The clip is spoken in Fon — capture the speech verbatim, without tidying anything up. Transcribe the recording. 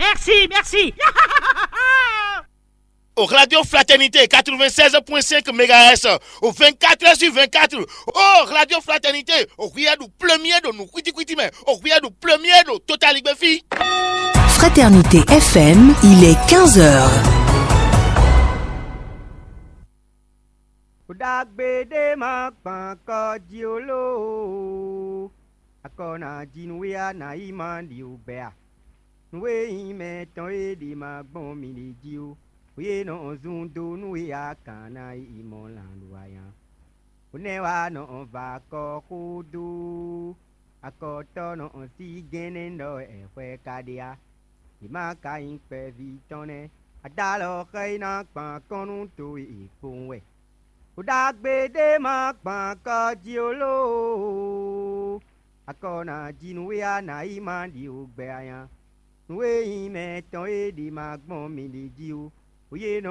Merci, merci. Au Radio Fraternité quatre-vingt-seize point cinq mégahertz, au vingt-quatre heures sur vingt-quatre. Oh, Radio Fraternité, au Riyadu premier de nous, kwiti kwiti, mais au Riyadu premier de Total Igbefi. Fraternité F M, il est quinze heures. Ɖagbe ɖé ma kpan kɔ jí ó loo. Akɔ ná jí nú we a nǎ yi ma ɖi wǔ gbɛ a? Nú we nyí mɛ tɔn e ɖi ma gbɔn mi ɖi jí ó. Wě nɔ zun dó nú we a kǎn ná yi mɔ lan ɖo aya. Hǔnɛ́ wá nɔ va kɔ xó dó. Akɔtɔ́ nɔ sí gɛ́nnɛ́ ɖɔ wɛ xwɛ ka ɖe á. Yě má ka nyí kpɛví tɔn nɛ́. Adalɔ xɛ yi ná kpan kɔn nú towe kpowun wɛ. Ɖagbe ɖé ma kpan kɔ jí ó loo. Akɔ ná jí nú we a nǎ yi ma ɖi wǔ gbɛ anya. Nú we nyí mɛ tɔn e ɖi ma gbɔn mi ɖi jí ó. Wě nɔ